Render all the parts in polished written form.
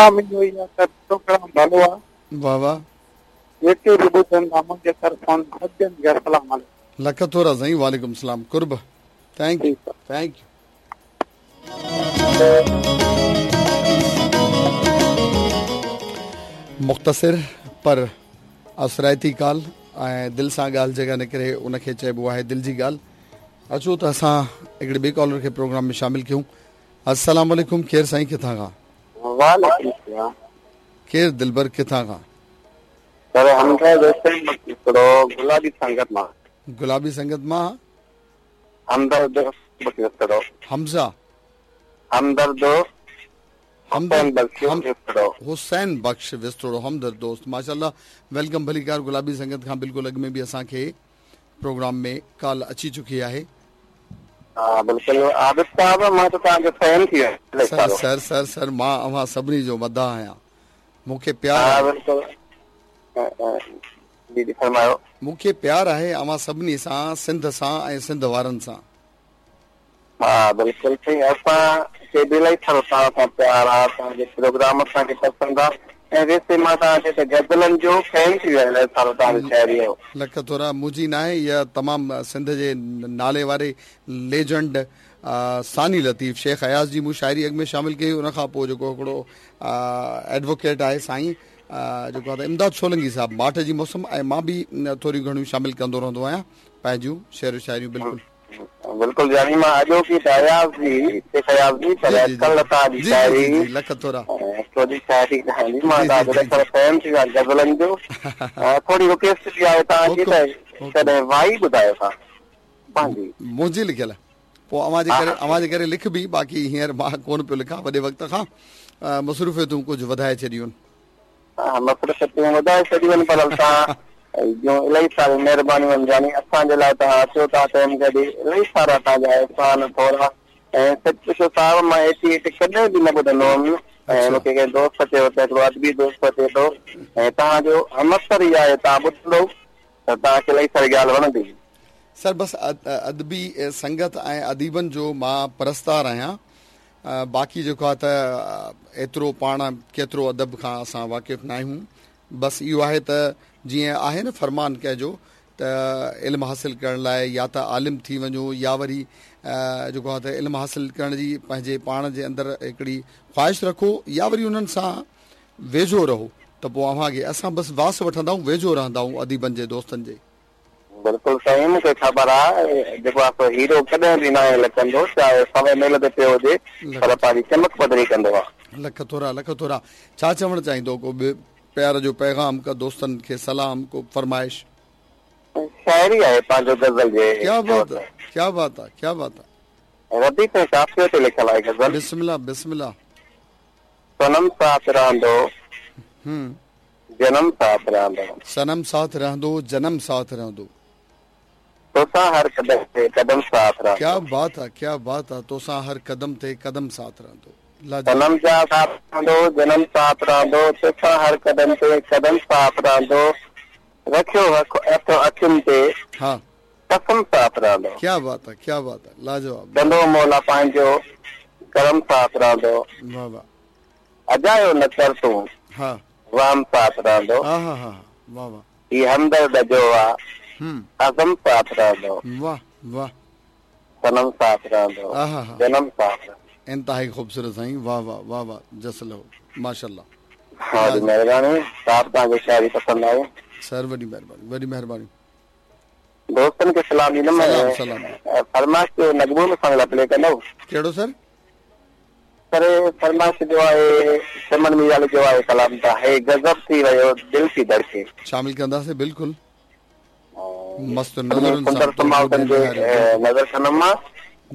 دعا منهنجو اها آهي ته پروگرام ڀلو آهي. واه واه. جيڪي به ٻڌن ٿا منهنجي طرفان سڄن کي السلام عليڪم. لک ٿورا سائين وعليڪم السلام قرب thank you thank you. مختصر پر اثرائتي ڪال ۽ دل سان ڳالهه جيڪا نڪري ان کي چئبو آهي دل جي ڳالهه. اچو ته اسان هڪڙي ٻئي ڪالر کي پروگرام ۾ شامل ڪيون. السلام عليڪم ڪير سائين ڪٿان کان؟ وعليڪم السلام. ڪير دلبر ڪٿان کان؟ سر حمزه حسين هڪڙو گلابي سنگت مان. گلابي سنگت مان. همدرد هڪڙو. حمزه. همدرد حسين بخش وسطڙو. حسين بخش وسطڙو همدرد دوست ماشاءالله welcome ڀليڪار گلابي سنگت کان بلڪل اڳ ۾ به اسان کي پروگرام ۾ ڪال اچي چڪي آهي. ها بلڪل عابد صاحب مان ته توهان جو فين ٿي ويو سر سر سر سر مان اوهان سڀني جو مداح آهيان مون کي پيار ها بلڪل جي جي فرمايو. مون کي پيار آهي اوهان سڀني سان سنڌ سان ۽ سنڌ وارن سان. ها بلڪل سائين اسان کي به الائي ٿورو توهان سان پيار آ توهان جو پروگرام اسان کي پسند آ ۽ ويسي مان توهان جي ته غزلن جو فين ٿي ويو آهيان الائي ٿورو توهان جي شاعري جو. لک ٿورا منهنجي ناهي اها تمام سنڌ جي نالي واري ليجنڊ ثاني لطيف شيخ اياز جي مون شاعري اڳ ۾ شامل ڪئي ان کان پوء جيڪو هڪڙو ايڊووڪيٽ آهي سائين جيڪو آهي امداد سولنگي صاحب ماٺ جي موسم ۽ مان به ٿوريون گهڻيون شامل ڪندو رهندو آهيان پنهنجون شعر و شاعريون بلڪل. بلڪل يعني مان اڄوڪي ته اياز جي شيخ اياز جي پر اڄڪلهه توهان جي شاعري جي لک ٿورا ٿوري شاعري ڳائڻ جي مان توهان جو ڏسڻ فين ٿي ويو آهيان غزلن جو ٿوري رڪويسٽ به آهي توهان کي ته ڪڏهن وائي ٻڌايو ٿا پنهنجي منهنجي لکيل پوء اوهان جي ڪري اوهان جي ڪري لکبي باقي هينئر مان ڪونه پيو لکان وڏي وقت کان مصروفيتون ڪجهه وڌائي ڇڏيون ها مصروفيتون وڌائي ڇڏيون آهن پر توهان جون الاهي ساريون مهربانيون آهن يعني اسان جي لاء توهان اچو ٿا ٽائيم ڪڍي الاهي سارا توهان جا احسان ٿورا ۽ سچ پڇو صاحب مان ايٽي ايٽ ڪڏهن به نه ٻڌندو هوم ۽ مون کي ڪنهن دوست چيو ته هڪڙو ادبي دوست اچي ٿو ۽ توهان جو همعصر ئي آهي توهان ٻڌندو ته توهان کي الاهي ساري ڳالهه وڻندي. سر بس ادبي سنگت ۽ اديبن جو مان پرستار آهيان باقي جيڪو آهي ته ايترو پاڻ ڪيترو ادب کان اسان واقف ناهيون بس اهو آهي ته جيئن آهي نه فرمان ڪنهن جو ته علم حاصل ڪرڻ لاء يا ته عالم ٿي وڃو يا وري جيڪو آهي ته علم حاصل ڪرڻ جي پنهنجي پاڻ جي اندر هڪڙي خواهش رکو يا وري انهن سان ويجهو رهو ته پوء اوهان کي اسان بس واس وٺندا آهيون ويجهو رهندا آهيون اديبن جي دوستن جي. بلڪل سائين مون کي خبر آ جيڪو آ سو هيرو ڪڏهن به ناهي لڪندو چاهي سوين ميل تي پيو هجي پر پنهنجي چمڪ پڌري ڪندو آ. لک ٿورا لک ٿورا ڇا چوڻ چاهيندو ڪو به پيار جو پيغام ڪا دوستن کي سلام ڪو فرمائش. شاعري آهي پنهنجو غزل جي ڪيا بات آ ڪيا بات آ ڪيا بات آ. رديف ۽ قافيي تي لکيل آهي غزل. بسم الله بسم الله. صنم ساٿ رهندو جنم ساٿ رهندو. صنم ساٿ رهندو جنم ساٿ رهندو. توسان هر قدم تي قدم ساٿ رهندو. ڪيا بات آ ڪيا بات آ توسان هر قدم تي قدم ساٿ رهندو لاجواب. صنم جا ساٿ رهندو جنم ساٿ رهندو توسان هر قدم تي قدم ساٿ رهندو رکيو هٿ اکين تي ها قسم ساٿ رهندو. ڪيا بات آ ڪيا بات آ لاجواب. ڪندو مولا پنهنجو ڪرم ساٿ رهندو. واه واه. اجايو نه ڪر تون ها. وهم ساٿ رهندو. ها ها ها واه واه. هي همدرد جو آ عزم ساٿ رهندو. واه واه. صنم ساٿ رهندو. جنم ساٿ رهندو. انتهائي خوبصورت سائين واه واه واه واه جس لهو ماشاءالله. وڏي مهرباني صاحب توهان کي شاعري پسند آئي. سر وڏي مهرباني وڏي مهرباني. دوستن کي سلام ڏيندم سلام سلام. فرمائش جو نغمو به اسان لاء پلي ڪندو. ڪهڙو سر؟ سر فرمائش جو آهي چمن ميرالي جو آهي ڪلام ته هي غضب ٿي ويو دل ٿي ڌڙڪي. شامل ڪنداسين بلڪل مست نظرن سان تو مون ڏي نهاريو نظر ڪندم مان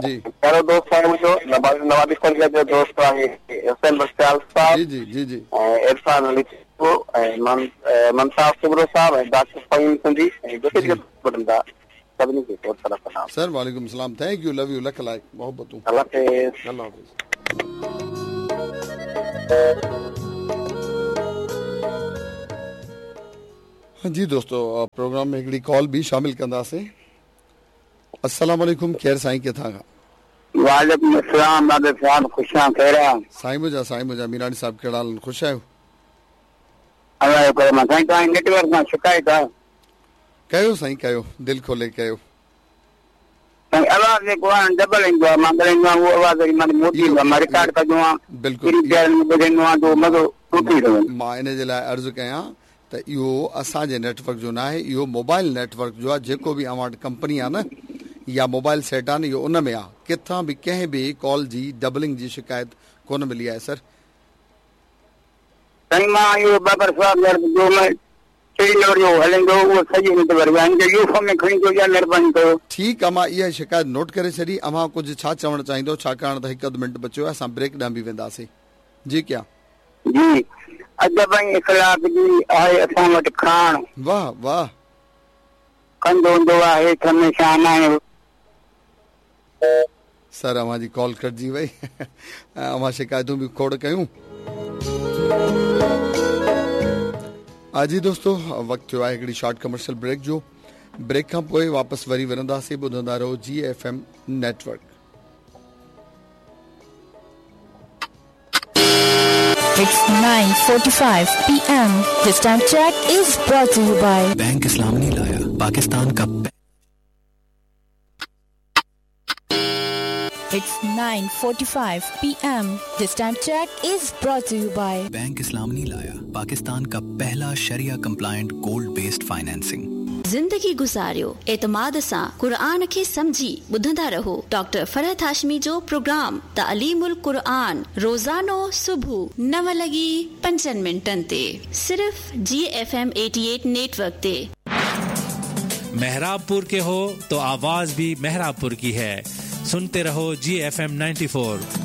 جي پيارو دوست آهي منهنجو نوابي سنگت جو دوست آهي حسين بخش سيال صاحب جي جي جي جي ۽ عرفان علي چانڊيو ۽ ممتاز سومرو صاحب ۽ ڊاڪٽر فهيم سنڌي ۽ جيڪي جيڪي ٻڌن ٿا سڀني کي کوڙ سارا سلام. سر وعليڪم السلام thank you love you lakh لائق محبتون الله حافظ. الله حافظ. جي دوستو پروگرام ۾ هڪڙي ڪال به شامل ڪنداسين. السلام عليڪم ڪير سائين ڪٿان کان. وعليڪم السلام بابي صاحب خوش آهيان خير آ. سائين منهنجا سائين منهنجا ميراڻي صاحب ڪهڙا حال آهن خوش آهيو. الله جو ڪرم آ سائين توهان جي نيٽ ورڪ مان شڪايت آ. ڪيو سائين ڪيو دل کولي ڪيو. سائين آواز جيڪو آ نه ڊبل ايندو آ مان ڳالهائيندو آهيان اهو آواز وري مان ڏي موٽي ايندو آ مان رڪارڊ ڪندو آهيان بلڪل ٻنهي پيارن ۾ ٻڌندو آهيان ته اهو مزو ٽٽي ٿو وڃي. مان ان جي لاء عرض ڪيان ته اهو اسان جي نيٽ ورڪ جو ناهي اهو موبائل نيٽ ورڪ جو آ جيڪو به اوهان وٽ ڪمپني آ نه يا موبائل سيٽ آ نه اهو ان ۾ آ ڪٿان به ڪنهن به ڪال جي ڊبلنگ جي شڪايت ڪونه ملي آهي سر. سائين مان اهو بابر صاحب يار جو مان ٽي نمبر جو هلندو اهو صحيح نيٽ ورڪ آهي ان کي يو فون ۾ کڻي اچو يا مهرباني ڪيو. ٺيڪ آ مان اها شڪايت نوٽ ڪري ڇڏي اوهان ڪجهه ڇا چوڻ چاهيندو ڇاڪاڻ ته هڪ اڌ منٽ بچيو آهي اسان بريڪ ڏانهن به وينداسين جي ڪيا. جي ادب ۽ اخلاق جي آهي اسان وٽ کاڻ. واه واه. ڪنڌ هوندو آهي هيٺ هميشه ناهي. سر اوهان جي ڪال ڪٽجي وئي اوهان شڪايتون به کوڙ ڪيون. جي دوستو وقت ٿيو آهي هڪڙي شارٽ ڪمرشل بريڪ جو بريڪ کان پوء واپس وري ورنداسين ٻڌندا رهو جي F M network. It's 9:45 PM. This time check is brought to you by bank Islamani लाया पाकिस्तान का It's 9:45 PM. This time check is brought to you by bank Islamani लाया पाकिस्तान का पहला शरिया कंप्लायंट गोल्ड बेस्ड फाइनेंसिंग ज़िंदगी गुज़ारियो एतमाद सां क़ुरआन खे सम्झी ॿुधंदा रहो डॉक्टर फ़रहत हाशमी जो प्रोग्राम तालीमुल क़ुरआन रोज़ानो सुबुह 9 लॻी 5 मिंटनि ते सिर्फ़ जी एफ एम 88 नेटवर्क ते। मेहराबपुर के हो तो आवाज भी मेहराबपुर की है। सुनते रहो जी एफ एम 94।